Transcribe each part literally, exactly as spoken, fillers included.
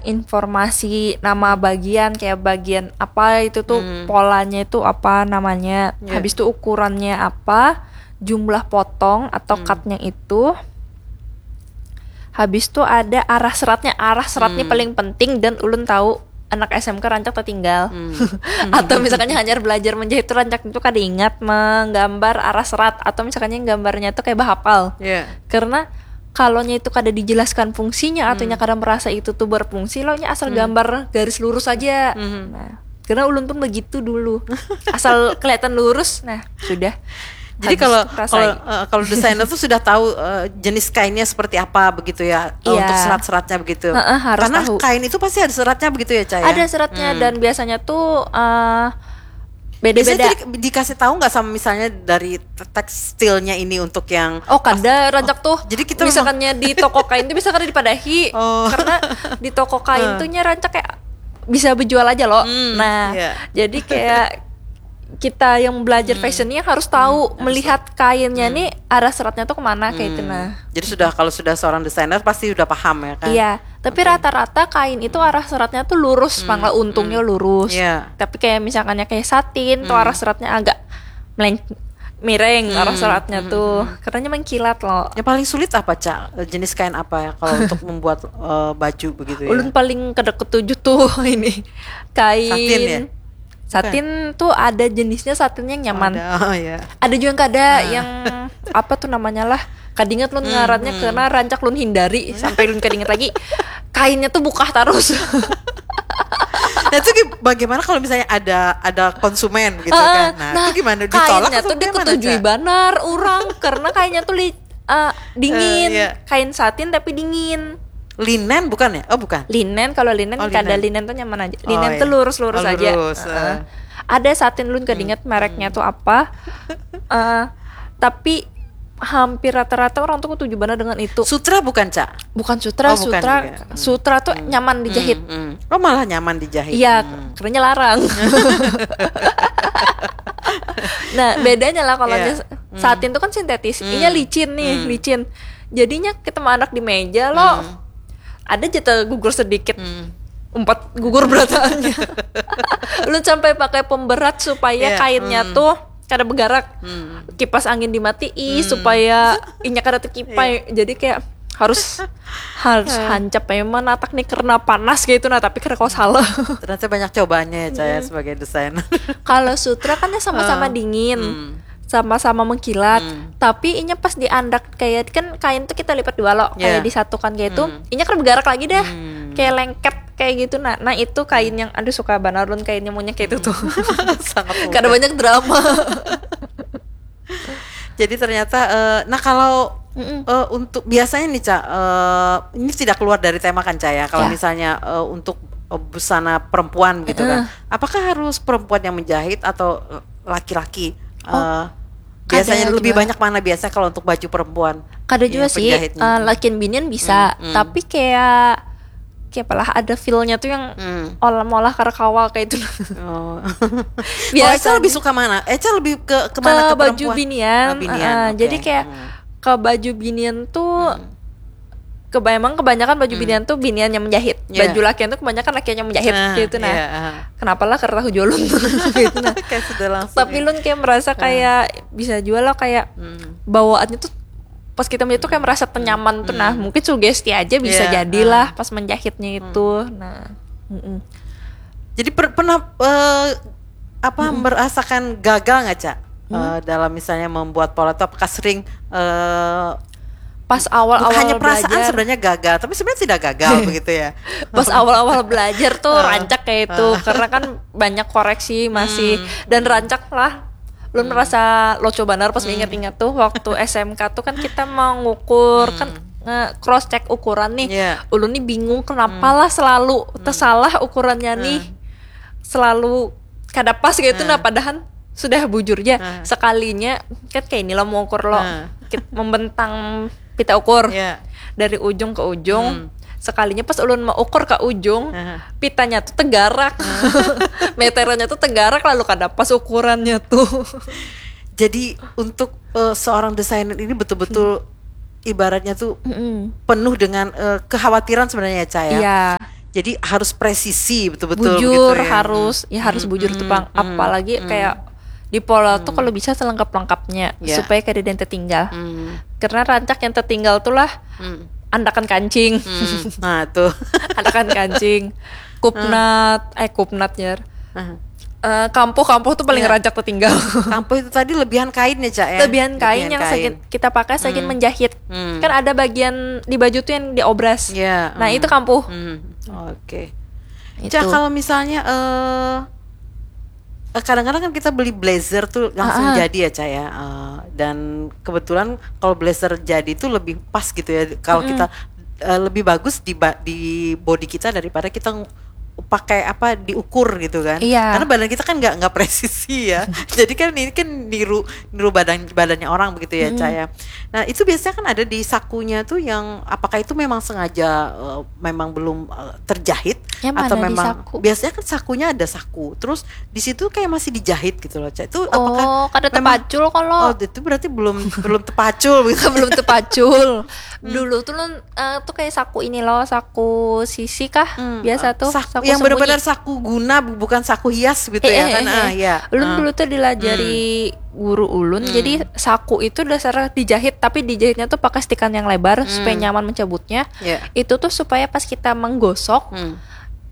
informasi nama bagian, kayak bagian apa itu tuh, Hmm. polanya itu apa namanya, Ya. habis itu ukurannya apa, jumlah potong atau Hmm. cutnya itu. Habis itu ada arah seratnya. Arah seratnya Hmm. paling penting dan ulun tahu anak S M K rancak tertinggal. Hmm. Atau misalkannya hanyar belajar menjahit tuh rancak itu kada ingat menggambar arah serat, atau misalkannya gambarnya tuh kayak bahapal. Ya. Karena kalau nya itu kada dijelaskan fungsinya atau Hmm. nya kada merasa itu tuh berfungsi, lo nya asal Hmm. gambar garis lurus aja. Hmm. Nah, karena ulun pun begitu dulu. Asal kelihatan lurus, nah sudah. Jadi Habis kalau rasai. kalau eh, kalau desainer tuh sudah tahu eh, jenis kainnya seperti apa begitu ya, eh, Iya. untuk serat-seratnya begitu. Heeh, harus Karena tahu. Kain itu pasti ada seratnya begitu ya, Cak, ya? Ada seratnya Hmm. dan biasanya tuh eh, Biasanya beda-beda. tuh di- dikasih tahu nggak sama misalnya dari te- tekstilnya ini untuk yang Oh, kada rancak tuh. Jadi kita memang Misalkannya di toko kain tuh bisa kada dipadahi. Oh. Karena di toko kain Hmm. tuh nya rancak kayak bisa berjual aja loh. Hmm, Nah, iya. jadi kayak kita yang belajar Hmm. fashion ini harus tahu Hmm, harus melihat kainnya nih arah seratnya tuh kemana kayak itu Hmm. Nah. Jadi sudah, kalau sudah seorang desainer pasti sudah paham ya kan? Iya, tapi Oke. rata-rata kain itu arah seratnya tuh lurus, Hmm, malah untungnya hmm. Lurus. Iya. Tapi kayak misalkannya kayak satin tuh Hmm. Arah seratnya agak meleng miring Hmm, arah seratnya hmm, tuh. hmm. Karena mengkilat loh. Yang paling sulit apa, Cak? Eh, jenis kain apa ya kalau untuk membuat eh, baju begitu ya? Ulun paling kada ketuju tuh ini kain. Satin ya? Satin tuh ada jenisnya satin yang nyaman. Ada, oh ya. Ada juga yang kada Ah. yang apa tuh namanya lah. Kadingat lun Hmm, ngarannya hmm. Karena rancak lun hindari sampai lun kadingat lagi. Kainnya tuh bukah terus. Nah, itu gi- bagaimana kalau misalnya ada ada konsumen gitu Ah, kan? Nah, itu gimana, ditolak kainnya atau tuh bagaimana, diketujui Cak? Banar orang karena kainnya tuh li, eh, dingin. Eh, iya. Kain satin tapi dingin. Linen bukan ya? Oh, bukan. Linen, kalau linen Oh, kada, linen. Linen tuh nyaman aja. Oh, Linen tuh iya. Lurus-lurus Oh, aja. lurus, Heeh. eh. Ada satin, lun kadingat mereknya tuh apa. Eh, tapi hampir rata-rata orang tuh ketuju banget dengan itu. Sutra bukan, Cak? Bukan sutra, Oh, bukan sutra, juga. Hmm. Sutra tuh Hmm. Nyaman dijahit. Hmm, hmm. Oh, malah nyaman dijahit. Iya, Hmm. Karena larang. Nah, bedanya lah kalau Iya. misalnya satin tuh kan sintetis, Hmm. Inya licin nih, Hmm. Licin. Jadinya kita mau anak di meja lo, Hmm. Ada jatah gugur sedikit. Hmm. Empat gugur berataannya. Lu sampai pakai pemberat supaya Iya, kainnya hmm. tuh kada bergerak. Hmm. Kipas angin dimatii Hmm. supaya inya kada terkipai. Jadi kayak harus harus hancap memang natak nih karena panas gitu nah, tapi karena kau salah. Ternyata banyak cobaannya ya, Cak, ya, sebagai desainer. Kalau sutra kan dia sama-sama Ah. dingin, Hmm. sama-sama mengkilat, Hmm. tapi inya pas diandak kayak kan kain tuh kita lipat dua lo, kayak Yeah. disatukan kayak itu, Hmm. inya kan bergerak lagi dah, Hmm. kayak lengket kayak gitu nah. Nah, itu kain yang aduh suka banget lun kainnya punya kayak itu tuh. Sangat mudah. Kada banyak drama. Jadi ternyata eh, nah, kalau Mm-mm. eh, untuk biasanya nih, Cak, eh, ini tidak keluar dari tema kan, Cak, ya, kalau Ya. Misalnya eh, untuk eh, busana perempuan gitu kan, Heeh. Apakah harus perempuan yang menjahit atau eh, laki-laki? Oh, Eh, biasanya kada lebih juga. Banyak mana biasanya kalau untuk baju perempuan? Kada Iya, juga sih, penjahitnya. Eh, lakian binian bisa, Hmm, hmm. Tapi kayak kayak apalah ada feel-nya tuh yang Hmm. olah-olah karena kawa kayak itu. Oh. Biasanya Oh, Eca lebih suka mana? Eca lebih ke Ke kemana, ke baju perempuan? binian, Oh, binian, eh, oke. Jadi kayak Hmm. Ke baju binian tuh keba emang kebanyakan baju binian tuh binian yang menjahit. Iya. Baju lakian tuh kebanyakan lakian yang menjahit Ah, gitu nah. Iya, ah. Kenapa lah karena hujolun gitu nah. Kayak sudah langsung. Tapi Ya. Lun kayak merasa kayak bisa jual lah kayak Hmm. bawaannya tuh pas kita menjahit tuh kayak merasa tenyaman tuh nah. Mungkin sugesti aja bisa Iya, jadilah ah. Pas menjahitnya itu. Nah. Mm-mm. Jadi per- pernah eh, apa merasakan gagal nggak, Cak? Eh, dalam misalnya membuat pola itu apakah sering eh, Pas awal-awal hanya perasaan belajar, sebenarnya gagal, tapi sebenarnya tidak gagal begitu ya. Pas awal-awal belajar tuh rancak kayak itu karena kan banyak koreksi masih dan rancak lah. Lun merasa lucu banar pas ingat-ingat tuh waktu S M K tuh kan kita mau ngukur kan nge cross check ukuran nih. Iya. Ulun nih bingung kenapa lah selalu tersalah ukurannya nih. Selalu kada pas kayak itu nah padahal sudah bujur ya sekalinya kan kayak ini lo mau ukur lo Nah. Kit- membentang pita ukur Iya. Dari ujung ke ujung sekalinya pas ulun mau ukur ke ujung Aha. Pitanya tuh tegarak meterannya tuh tegarak lalu kada pas ukurannya tuh. Jadi untuk eh, seorang desainer ini betul-betul ibaratnya tuh Mm-mm. penuh dengan eh, kekhawatiran sebenarnya, Cak, ya. Iya. Jadi harus presisi betul-betul bujur gitu ya. Harus ya harus Hmm, bujur tuh hmm, pang hmm, apalagi hmm. Kayak di pola tuh kalau bisa selengkap lengkapnya Ya. Supaya kada ada yang tertinggal Hmm. Karena rancak yang tertinggal tuh lah Hmm. Andakan kancing Hmm. Nah tuh. Andakan kancing Kupnat Eh kupnat ya Nah. Eh, Kampuh-kampuh tuh paling Ya. Rancak tertinggal Kampuh itu tadi lebihan kain ya, Cak ya? Lebihan kain yang kain. Sakit kita pakai Saking Hmm. menjahit Hmm. Kan ada bagian di baju tuh yang diobras Ya, Nah hmm. itu kampuh Hmm. Oke. Itu. Cak, kalau misalnya eh eh, kadang-kadang kan kita beli blazer tuh langsung Ah, ah. Jadi ya, Cak ya. Eh, dan kebetulan kalau blazer jadi tuh lebih pas gitu ya. Kalau kita eh, lebih bagus di ba- di body kita daripada kita ng- pakai apa diukur gitu kan. Iya. Karena badan kita kan nggak nggak presisi ya. Jadi kan ini kan niru niru badan badannya orang begitu ya, Cak ya. Nah, itu biasanya kan ada di sakunya tuh yang apakah itu memang sengaja eh, memang belum eh, terjahit Yang atau mana di memang saku? Biasanya kan sakunya ada saku. Terus di situ kayak masih dijahit gitu loh, Cak. Itu apakah Oh, kada memang tepacul kalau Oh, itu berarti belum belum tepacul gitu. Belum tepacul. Dulu tuh lun eh, tuh kayak saku ini loh, saku sisi kah? Hmm, Biasa eh, tuh, saku saku yang sembunyi. Benar-benar saku guna bukan saku hias gitu Eh, ya eh, kan? eh, Ah, eh. ya. Ulun Ah. dulu tuh dilajari guru ulun. Jadi saku itu dasar dijahit tapi dijahitnya tuh pakai stikan yang lebar supaya nyaman mencabutnya. Ya. Itu tuh supaya pas kita menggosok, Hmm.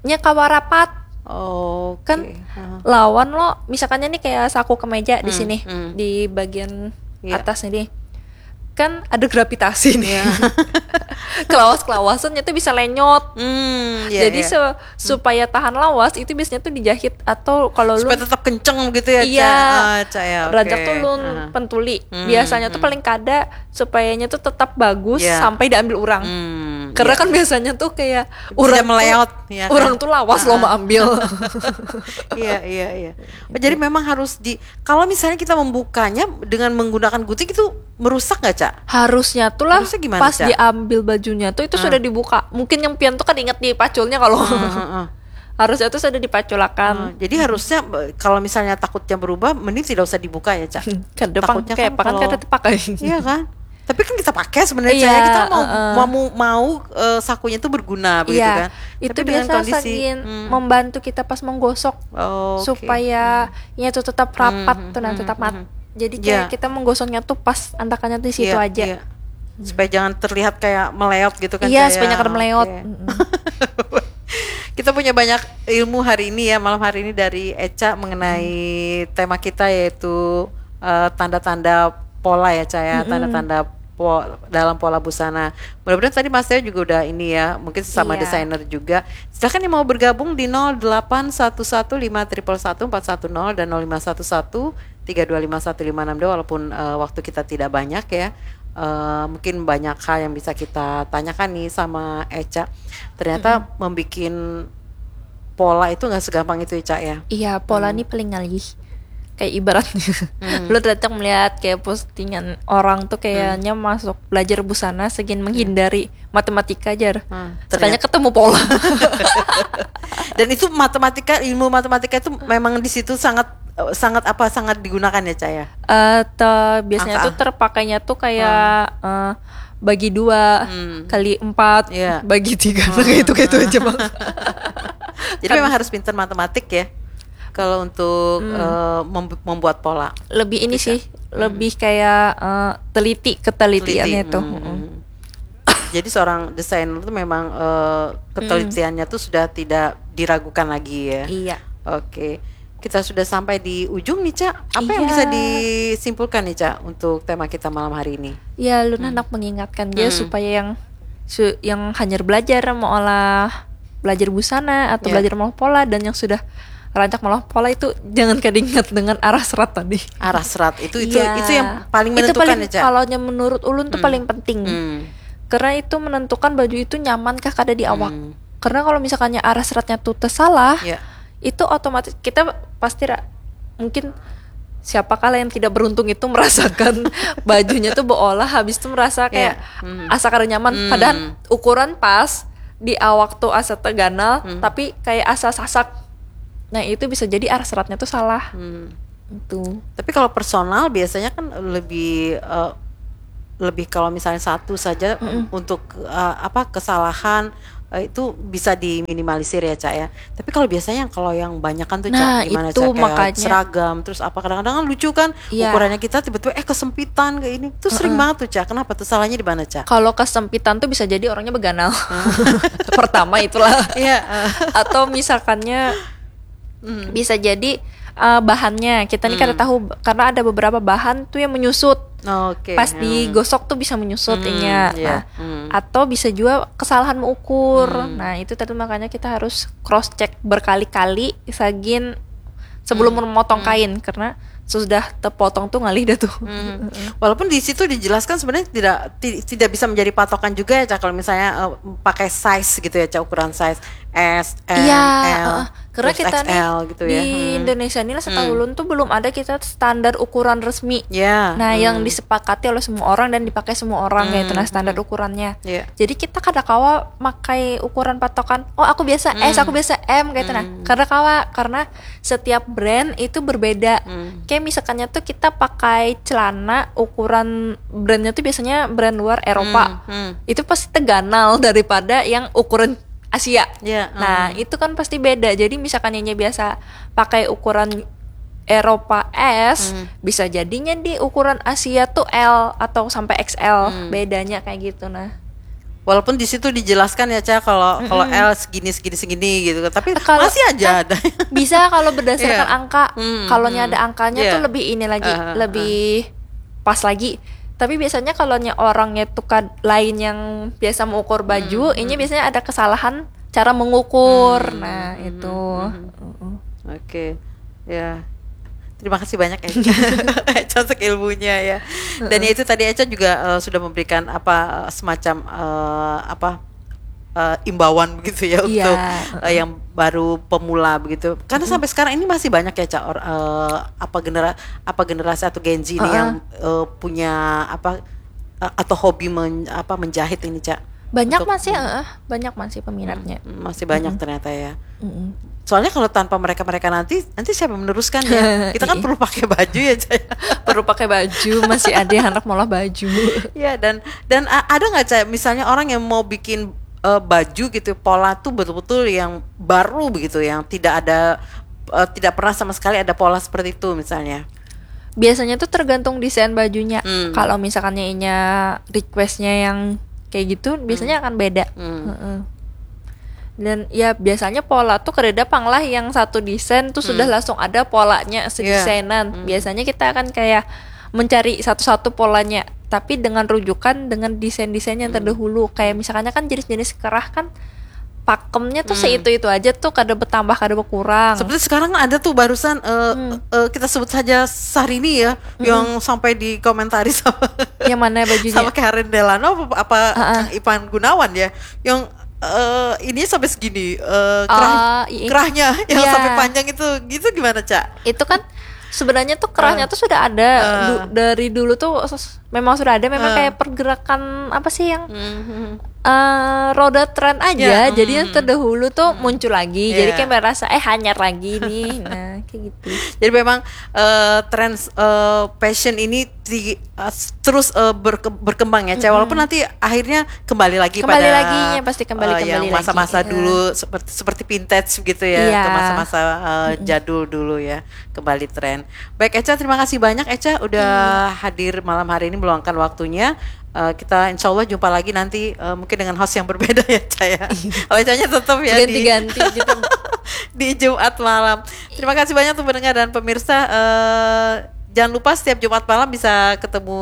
nya kawa rapat. Oke. Kan Ah. lawan lo misalkannya nih kayak saku kemeja di sini hmm. di bagian Iya. Atas nih. Kan ada gravitasi nih. Iya. Kelawas-kelawasannya tuh bisa lenyot. Hmm, ya, Jadi ya. se- supaya tahan lawas itu biasanya tuh dijahit atau kalau lu Supaya tetap kenceng gitu ya, Iya. Cak? Ah, Cak ya. Oke. Rancak tuh lun Ah. pentuli. Hmm, Biasanya tuh hmm. Paling kada supayanya tuh tetap bagus Iya. Sampai diambil orang. Hmm, Karena iya. Kan biasanya tuh kayak Tidak orang tuh, meleot, ya kan? Orang tuh lawas loh mau ambil. Iya, iya, iya. Oh, jadi memang harus di kalau misalnya kita membukanya dengan menggunakan gunting itu merusak nggak, Cak? Harusnya tuh lah Harusnya gimana, pas Cak? Diambil bajunya tuh itu sudah dibuka. Mungkin yang pian tuh kan ingat dipaculnya kalau Heeh. Harusnya tuh sudah dipaculakan. Nah, jadi harusnya eh, kalau misalnya takutnya berubah, mending tidak usah dibuka ya, Cak. Kada pang Takutnya kayak kan pakan kalau kada terpakai. Iya kan? Tapi kan kita pakai sebenarnya, Iya, Cak, ya. Kita mau heeh. mau mau eh, sakunya tuh berguna begitu Iya, kan. itu Tapi dengan biasa kondisi saking hmm. membantu kita pas menggosok Oh, oke. Supaya nya tuh tetap rapat Hmm, tuh nah hmm, tetap hmm, mat. hmm. Jadi kayak Iya. Kita menggosoknya tuh pas andakannya di situ Iya, aja. Iya. Supaya jangan terlihat kayak meleot gitu kan, Iya, Cak, supaya ya? Kada meleot. Oke. Mm-mm. Kita punya banyak ilmu hari ini ya, malam hari ini dari Eca mengenai tema kita yaitu eh, tanda-tanda pola ya, Cak, ya, tanda-tanda po- dalam pola busana. Mudah-mudahan tadi Mas Teo juga udah ini ya, mungkin sesama Iya. Desainer juga. Silahkan yang mau bergabung di nol delapan satu satu lima triple satu empat satu nol dan nol lima satu satu tiga dua lima satu lima enam dua, walaupun eh, waktu kita tidak banyak ya. Eh, mungkin banyak hal yang bisa kita tanyakan nih sama Eca. Ternyata membuat pola itu nggak segampang itu ya, Cak, ya. Iya, pola nih paling ngalih. Kayak ibaratnya lu datang melihat kayak postingan orang tuh kayaknya masuk belajar busana segin menghindari matematika jar. Hmm, Ternyata ketemu pola. Dan itu matematika, ilmu matematika itu memang di situ sangat eh, sangat apa sangat digunakan ya, Cak, ya. Eh, te- biasanya Angka. Tuh terpakainya tuh kayak eh, bagi dua kali empat Iya. Bagi tiga kayak itu kayak itu aja bang. Jadi memang harus pintar matematik ya. Kalau untuk eh, mem- membuat pola. Lebih ini sih, lebih kayak eh, teliti ketelitiannya Teliti. Tuh. Hmm. Mm-mm. Jadi seorang desainer tuh memang eh, ketelitiannya tuh sudah tidak diragukan lagi ya. Iya. Oke. Kita sudah sampai di ujung nih, Cak. Apa yang Iya. Bisa disimpulkan nih, Cak, untuk tema kita malam hari ini? Ya, lu anak mengingatkan dia Hmm. Supaya yang su- yang hanyar belajar mau olah belajar busana atau Iya. Belajar mau pola dan yang sudah rancak mau pola itu jangan keingat dengan arah serat tadi. Arah serat itu itu Iya. itu yang paling Itu menentukan paling, ya, Cak. Kalau menurut ulun tuh paling penting. Hmm. Karena itu menentukan baju itu nyaman kah kada di awak. Hmm. Karena kalau misalkannya arah seratnya tuh tersalah, Ya. itu otomatis kita pasti ra- mungkin siapa kala yang tidak beruntung itu merasakan bajunya tuh beolah habis itu merasa kayak Iya. Hmm. Asa kada nyaman. Hmm. Padahal ukuran pas di awak tuh asa terganal, Hmm. Tapi kayak asa sasak. Nah itu bisa jadi arah seratnya tuh salah. Hmm. Itu. Tapi kalau personal biasanya kan lebih eh, lebih kalau misalnya satu saja untuk eh, apa kesalahan Eh, itu bisa diminimalisir ya, Cak, ya. Tapi kalau biasanya yang, kalau yang banyakan tuh, Cak, Nah, gimana, itu Cak? Kayak makanya. Seragam, terus apa, kadang-kadang kan lucu kan, Iya. ukurannya kita tiba-tiba eh kesempitan kayak ini. Itu sering banget tuh, Cak. Kenapa tuh, salahnya di mana, Cak? Kalau kesempitan tuh bisa jadi orangnya beganal. Pertama itulah. Iya, eh. Atau misalkannya Hmm. bisa jadi eh, bahannya kita nih kada Hmm. tahu, karena ada beberapa bahan tuh yang menyusut. Oke. Pas Hmm. digosok tuh bisa menyusut Hmm, inya. iya. Nah, Hmm. atau bisa juga kesalahan mengukur. Hmm. Nah, itu tadi makanya kita harus cross check berkali-kali sagin sebelum memotong kain, karena sudah tepotong tuh ngalih dah tuh. Hmm. Walaupun di situ dijelaskan sebenarnya tidak ti- tidak bisa menjadi patokan juga ya, Cak, kalau misalnya eh, pakai size gitu ya, Cak, ukuran size S, M, Iya, L, heeh. Karena terus kita nih X L gitu di ya. Hmm. Indonesia ini lah, setahu ulun tuh belum ada kita standar ukuran resmi. Ya. Nah, yang Hmm. disepakati oleh semua orang dan dipakai semua orang kayak itu, nah, Hmm, standar hmm. ukurannya. Ya. Jadi kita kada kawa makai ukuran patokan, "Oh, aku biasa S, Hmm. aku biasa M," kayak itu, nah. Hmm. Kada kawa, karena setiap brand itu berbeda. Hmm. Kayak misalkannya tuh kita pakai celana ukuran brandnya tuh biasanya brand luar Eropa. Hmm, hmm. Itu pasti teganal daripada yang ukuran Asia. Ya, Nah, hmm. itu kan pasti beda. Jadi misalkan inya biasa pakai ukuran Eropa S, Hmm. bisa jadinya di ukuran Asia tuh L atau sampai X L. Hmm. Bedanya kayak gitu, nah. Walaupun di situ dijelaskan ya, Cak, kalau kalau L segini, segini, segini gitu, tapi Kalau masih aja kan ada. Bisa kalau berdasarkan Iya. angka. Hmm, Kalau nya hmm. ada angkanya Iya. tuh lebih ini lagi, Ah, ah, lebih pas lagi. Tapi biasanya kalau nya orangnya tuh kad lain yang biasa mengukur baju, Hmm, ini hmm. biasanya ada kesalahan cara mengukur. Hmm, Nah, hmm, itu. hmm, hmm. Heeh. Oke. Ya. Terima kasih banyak, Eca. Eca untuk ilmunya ya. Dan ya itu tadi, Eca juga eh, sudah memberikan apa eh, semacam eh, apa eh, imbauan begitu ya Iya, untuk eh, yang baru pemula begitu. Karena sampai sekarang ini masih banyak ya, Cak, or- eh, apa genera apa generasi atau Gen Z ini Heeh. yang eh, punya apa eh, atau hobi men- apa menjahit ini, Cak. Banyak Untuk- masih, heeh, banyak masih peminatnya. Hmm, masih banyak ternyata ya. Mm-mm. Soalnya kalau tanpa mereka-mereka nanti, nanti siapa yang meneruskan ya? Kita kan Iya. Perlu pakai baju ya, Cak. Perlu pakai baju, masih ada yang anak maulah baju. Ya, dan dan a- ada nggak, Cak, misalnya orang yang mau bikin eh, baju gitu, pola tuh betul-betul yang baru begitu, yang tidak ada eh, tidak pernah sama sekali ada pola seperti itu misalnya. Biasanya tuh tergantung desain bajunya. Hmm. Kalau misalkannya inya requestnya yang kayak gitu, biasanya akan beda. Hmm. Heeh. Dan ya biasanya pola tuh kadada pang lah yang satu desain tuh sudah Hmm. langsung ada polanya Iya. sedesainan. Hmm. Biasanya kita akan kayak mencari satu-satu polanya, tapi dengan rujukan dengan desain-desain yang Hmm. terdahulu. Kayak misalkannya kan jenis-jenis kerah kan pakemnya tuh Hmm. seitu-itu aja tuh, kada bertambah, kada berkurang. Seperti sekarang kan ada tuh barusan eh, Hmm. eh, kita sebut saja Syahrini ya, yang sampai dikomentari sama Yang mana bajunya? sama Karen Delano apa, apa Ah, ah. Kang Ipan Gunawan ya, yang eh, ini sampai segini eh, kerah, Ah, iya. kerahnya yang Iya. Sampai panjang itu, gitu gimana, Cak? Itu kan sebenarnya tuh kerahnya Ah. tuh sudah ada. Ah. Du- dari dulu tuh s- memang sudah ada, memang Ah. kayak pergerakan apa sih yang Mhm. eh, roda tren aja. Ya, Jadi yang hmm. Terdahulu tuh muncul lagi. Jadi Iya. Kayak merasa eh hanyar lagi nih. Nah, kayak gitu. Jadi memang eh, tren eh, fashion ini di, eh, terus eh, berke- berkembang ya, Cak. Mm-mm. Walaupun nanti akhirnya kembali lagi Kembali pada lagi, ya, pasti kembali, eh, kembali yang lagi. masa-masa Iya. Dulu seperti seperti vintage begitu ya, Iya. Ke masa-masa eh, jadul dulu ya, kembali tren. Baik, Eca, terima kasih banyak, Eca, udah Iya. hadir malam hari ini, meluangkan waktunya. Eh, kita insya Allah jumpa lagi nanti eh, mungkin dengan host yang berbeda ya, Ca, ya. Oh, Ecanya tetap ya di Ganti-ganti gitu. di Jumat malam. Terima kasih banyak untuk pendengar dan pemirsa. Eh, jangan lupa setiap Jumat malam bisa ketemu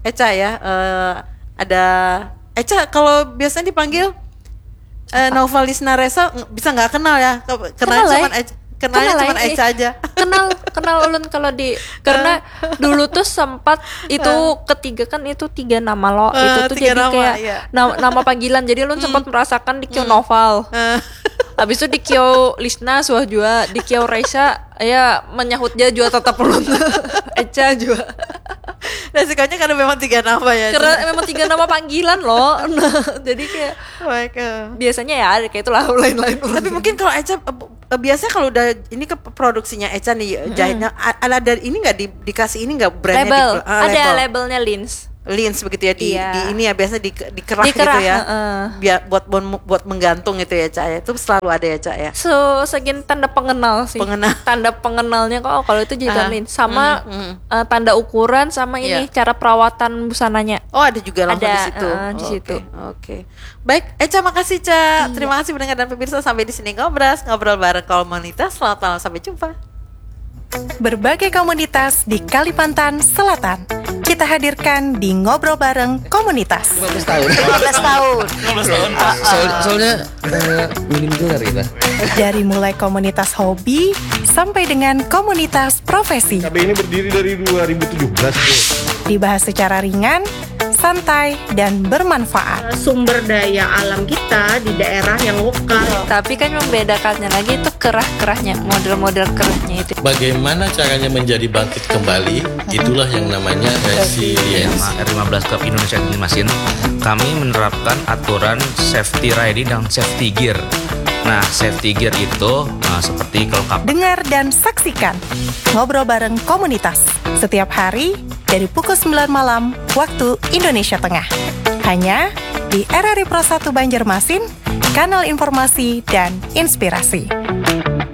Eca ya. Eh, ada Eca, kalau biasanya dipanggil eh, Naufalisna Resa, ng- bisa nggak kenal ya? Ke- Kenalnya Kenal, cuman eh. Eca, kenalnya Kenal, cuman eh. Eca aja. Kenal, kenal ulun kalau di, karena dulu tuh sempat itu ketiga kan, itu tiga nama lo. Eh, Itu tuh tiga jadi nama, kayak iya. nama, nama panggilan. Jadi ulun sempat merasakan di Kio Noval. Eh, Habis itu di Kio Lisna suah juga, di Kio Resa ya menyahut dia juga tetap ulun. Eca juga. Resikonya karena memang tiga nama ya. Karena memang tiga nama panggilan loh. Nah, jadi kayak Baik, eh. Biasanya ya ada kayak itulah, lain-lain. Tapi mungkin kalau Eca eh, eh, biasanya kalau udah ini ke produksinya Eca nih, jahitnya a- ada, ada ini nggak di, dikasih ini nggak, brandnya Label. di, ah, Ada label. Labelnya Lins. lens begitu ya, di, Iya. di ini ya, biasanya di, dikerah, Dikerah, gitu ya. Heeh. Biar buat buat buat menggantung gitu ya, Cak, ya. Itu selalu ada ya, Cak, ya. So, segini tanda pengenal sih. Pengenal. Tanda pengenalnya kok, oh, kalau itu jadi Ah. lens. Sama Hmm, hmm. eh, tanda ukuran sama ini, Iya. Cara perawatan busananya. Oh, ada juga langsung Ada, di situ. Heeh, di Oke, situ. Oke. Baik, Eca, makasih, Ca. Iya. Terima kasih pendengar dan pemirsa, sampai di sini ngobras, ngobrol bareng komunitas. Selamat malam, sampai jumpa. Berbagai komunitas di Kalimantan Selatan kita hadirkan di Ngobrol Bareng Komunitas. lima belas tahun. lima belas tahun. Soal- soalnya eh, minim gelar kita. Dari mulai komunitas hobi sampai dengan komunitas profesi. K B ini berdiri dari dua ribu tujuh belas, Bu. Dibahas secara ringan, santai, dan bermanfaat. Sumber daya alam kita di daerah yang lokal. Tapi kan membedakannya lagi itu kerah-kerahnya, model-model kerahnya itu. Bagaimana caranya menjadi bangkit kembali? Itulah yang namanya resilience. Lima belas Club Indonesia Masin, kami menerapkan aturan safety riding dan safety gear. Nah, safety gear itu nah, seperti kalau kapal Dengar dan saksikan Ngobrol Bareng Komunitas setiap hari dari pukul sembilan malam waktu Indonesia Tengah. Hanya di R R I Pro satu Banjarmasin, kanal informasi dan inspirasi.